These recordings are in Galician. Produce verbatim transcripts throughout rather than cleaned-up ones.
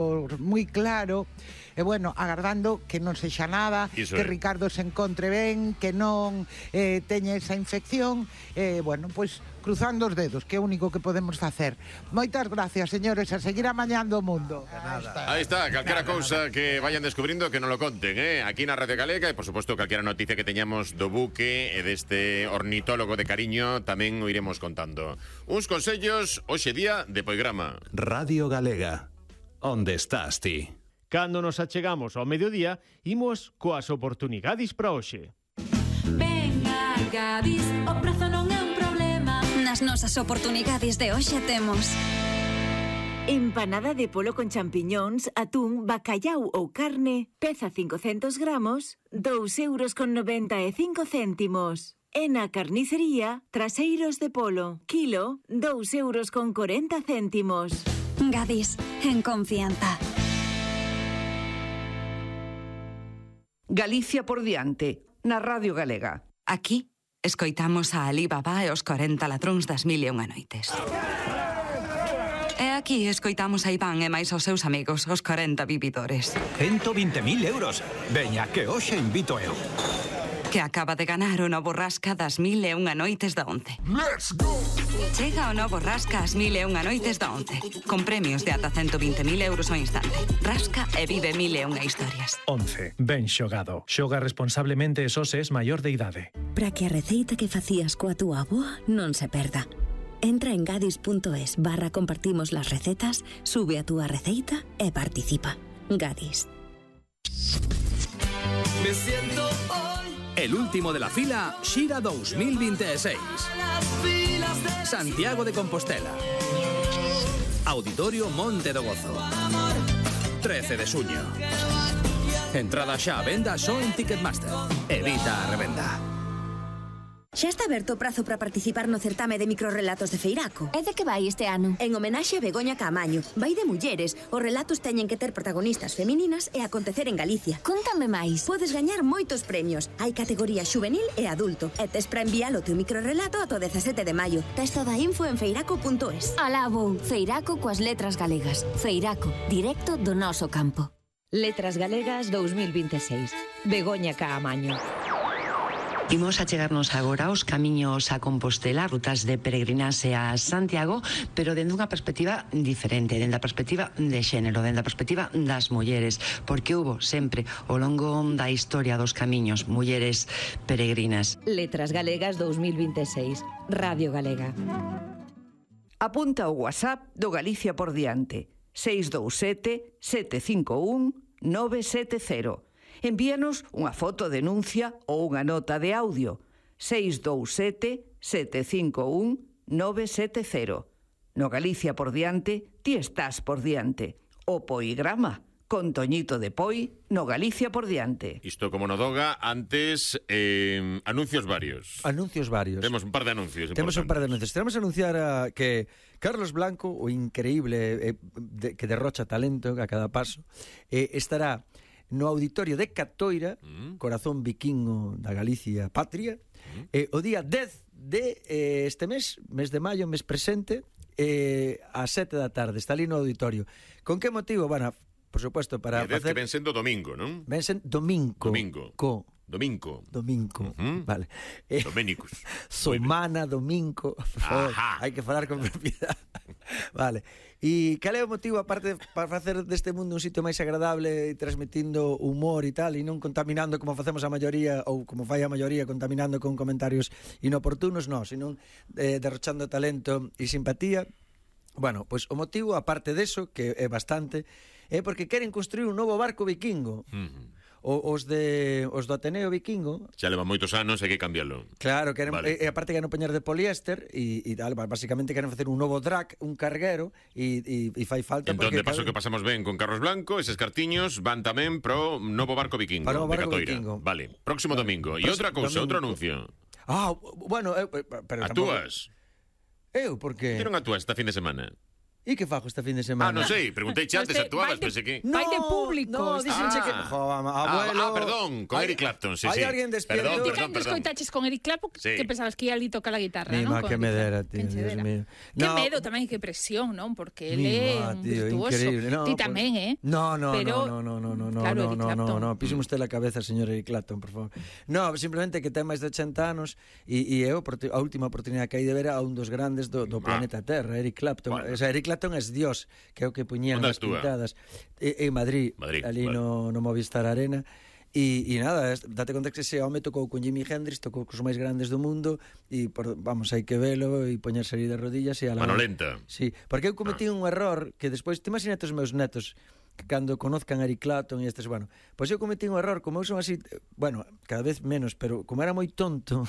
moi claro, e bueno, agardando que non sexa nada, Iso que é. Ricardo se encontre ben, que non eh, teña esa infección, e eh, bueno, pois cruzando os dedos, que é o único que podemos facer. Moitas gracias, señores, a seguir amañando o mundo. Aí está, calquera cousa que vayan descubrindo que non lo conten, eh? Aquí na Radio Galega e, por suposto, calquera noticia que teñamos do buque e deste ornitólogo de cariño tamén o iremos contando. Uns consellos, hoxe día de Poigrama. Radio Galega. Onde estás ti? Cando nos achegamos ao mediodía, imos coas oportunidades para hoxe. Venga, Gadis, o prazo non é un problema. Nas nosas oportunidades de hoxe temos empanada de polo con champiñóns, atún, bacallau ou carne, peza cincocentos gramos, dous euros con noventa e cinco céntimos. E na carnicería, traseiros de polo, kilo, dous euros con corenta céntimos. Gadis, en confianza. Galicia por diante, na Radio Galega. Aquí escoitamos a Alibaba e os corenta ladróns das mil e unha noites. E aquí escoitamos a Iván e máis aos seus amigos, os corenta vividores. ciento vinte mil euros. Veña, que hoxe invito eu. Que acaba de ganar o novo rasca das mil e unha noites da once. Let's go! Chega o novo rasca ás mil e unha noites da once, con premios de ata ciento vinte mil euros ao instante. Rasca e vive mil e unha historias. once. Ben xogado. Xoga responsablemente e só se es maior de idade. Para que a receita que facías coa túa avoa non se perda. Entra en gadis.es barra compartimos las recetas, sube a túa receita e participa. Gadis. Me siento hoy el último de la fila Xira dos mil veintiséis. Santiago de Compostela. Auditorio Monte do Gozo. trece de xuño. Entrada xa a venda só en Ticketmaster. Evita a revenda. Xa está aberto o prazo para participar no certame de microrrelatos de Feiraco. E de que vai este ano? En homenaxe a Begoña Caamaño. Vai de mulleres. Os relatos teñen que ter protagonistas femininas e acontecer en Galicia. Contame máis. Podes gañar moitos premios. Hai categoría xuvenil e adulto. E tes para enviar o teu microrrelato ata o dezasete de maio. Tes toda a info en feiraco punto es. Alá vou. Feiraco coas letras galegas. Feiraco, directo do noso campo. Letras Galegas dos mil veintiséis. Begoña Caamaño. Imos a chegarnos agora aos camiños a Compostela, rutas de peregrinaxe a Santiago, pero dende unha perspectiva diferente, dende a perspectiva de xénero, dende a perspectiva das mulleres, porque hubo sempre ao longo da historia dos camiños mulleres peregrinas. Letras Galegas dos mil veintiséis. Radio Galega. Apunta o WhatsApp do Galicia por diante. seis dous sete, sete cinco un, nove sete cero. Envíanos unha foto denuncia ou unha nota de audio. seis dous sete, sete cinco un, nove sete cero. No Galicia por diante, ti estás por diante. O Poigrama, con Toñito de Poi, no Galicia por diante. Isto como no Doga, antes eh, anuncios varios. Anuncios varios. Temos un par de anuncios. Temos un par de anuncios. Tenemos a anunciar a que Carlos Blanco, o increíble eh, de, que derrocha talento a cada paso, eh, estará no auditorio de Catoira, mm. corazón vikingo da Galicia patria, mm. eh, o día dez de eh, este mes, mes de maio, mes presente, eh, a sete da tarde, está ali no auditorio. Con que motivo? Bueno, por supuesto, para facer... facer... que ven sendo domingo, non? Ven sendo domingo. Domingo. Co... Domingo. Domingo, uh-huh. Vale. Eh, Doménicos. Somana, domingo. Por favor, hai que falar con propiedade. Vale. E cal é o motivo, aparte, para facer deste mundo un sitio máis agradable e transmitindo humor e tal, e non contaminando como facemos a maioría, ou como fai a maioría, contaminando con comentarios inoportunos, non, sino eh, derrochando talento e simpatía? Bueno, pois o motivo, aparte deso, que é bastante, é porque queren construir un novo barco vikingo. Uh-huh. O, os de os do Ateneo Vikingo xa leva moitos anos, hai que cambiarlo. Claro, queren, vale. e, e aparte queren poñer de poliéster e, e tal, basicamente queren facer un novo drag, un carguero e, e, e fai falta entón, porque... de paso cada... que pasamos ben con Carlos Blanco, eses cartiños van tamén pro novo barco vikingo para o barco de Catoira. Vikingo. Vale, próximo vale. domingo. E outra cousa, outro anuncio. Ah, bueno, eu, pero Actúas? Tampoco... Eu, porque... Ti non actúas esta fin de semana? E que fago esta fin de semana? Ah, non sei, preguntei che antes, actuabas, pensei que... Vai de público. No, dixenche que... Jo, abuelo... Ah, perdón, con Eric Clapton, sí, sí. Hai alguén despierto? Perdón, Ti perdón, cando perdón. escoitaches con Eric Clapton, Sí. que pensabas que ia ali tocar a guitarra, Mi non? má, Con que Eric me Clapton. dera, tío, Quen che Dios dera. mío. Que No. medo tamén, que presión, non? Porque ele Mi é má, un tío, virtuoso. increíble. No, Ti pues- tamén, eh? No, no, Pero, no, no, no, no, no, claro, no, Eric no, no, Clapton. no, píseme usted la cabeza, señor Eric Clapton, por favor. No, simplemente que ten máis de ochenta anos e, e é a última oportunidade que hai de ver a un dos grandes do, do planeta Terra, Eric Clapton. Bueno. O sea, Eric Clapton é Dios, que é o que puñían Onde nas actúa? pintadas. E, en Madrid, Madrid, ali vale. no, no Movistar Arena. E, e nada, es- date conta que ese home tocou con Jimi Hendrix, tocou cos máis grandes do mundo e por, vamos, hai que velo e poñerse ali de rodillas e a la Mano lenta. Sí, porque eu cometí un error que despois, te imaginas os meus netos que cando conozcan a Eric Clapton e estes, bueno, pois eu cometí un error, como eu son así, eh, bueno, cada vez menos, pero como era moi tonto,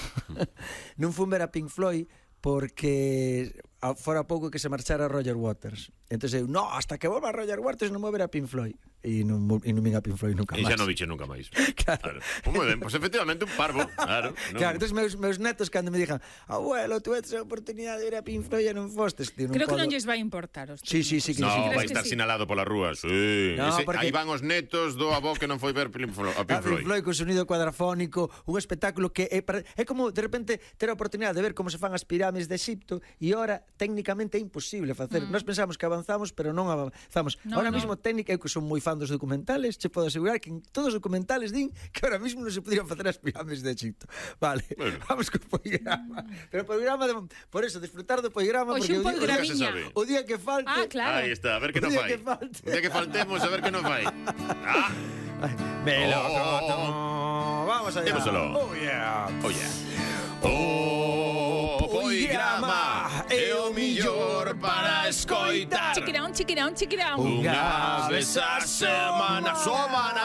non fun ver a Pink Floyd porque a, fora pouco que se marchara Roger Waters. Entón eu, no, hasta que volva Roger Waters non vou ver a Pink Floyd. E non, mo- e non vin a Pink Floyd nunca E máis. xa non viche nunca máis. Claro. Pues moi ben, pues efectivamente un parvo, claro. non- Claro, entón meus, meus netos cando me dixan, abuelo, tu tes a oportunidade de ver a Pink Floyd e non fostes, tío, non Creo que podo. non lles vai importar os Sí, sí, sí, que No, sí. vai crees que estar sí? sinalado pola rúa, sí. No, Ese, porque- aí van os netos do avó que non foi ver Pink Floyd, a Pink A Pink Floyd. Floyd con sonido cuadrafónico, un espectáculo que é, para- é como de repente ter a oportunidade de ver como se fan as pirámides de Egipto e ora técnicamente é imposible facer. Mm. Nós pensamos que avanzamos, pero non avanzamos. No, ahora no. mismo técnica, eu que son moi fan dos documentales, che podo asegurar que en todos os documentales din que ahora mismo non se podrían facer as pirámides de Egipto. Vale, Bueno. vamos co programa. Pero o programa de, por eso disfrutar do programa Hoxe porque un o día, nunca se sabe. o día que falte, Ah, claro. Aí está, a ver que O non día fai. que falte. O día que faltemos, a ver que non fai. Ah, Melocotón. Oh. Vamos allá. Démoselo. Oh yeah. oh yeah. O poigrama é o millor para escoitar. Chiquirón, chiquirón, chiquirón. Unha vez a semana, somana.